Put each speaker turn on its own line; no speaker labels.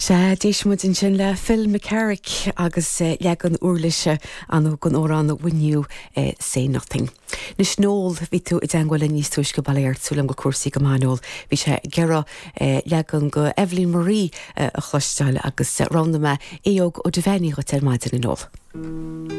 Sea, d'éist muid ansin le Phil McCarrick agus leagan uirlise ann den amhrán When You Say Nothing. Anois Noel, bhí tú i dteangmháil linn níos túisce bail ó Dhia ort, súil agam go bhfuil cúrsaí go maith Noel. Bhí sé ag iarraidh leagan de Evelyn Marie a chloisteáil agus roghnaigh mé Aodh Óg Ó Duibheannaigh dhuit ar maidin a Noel.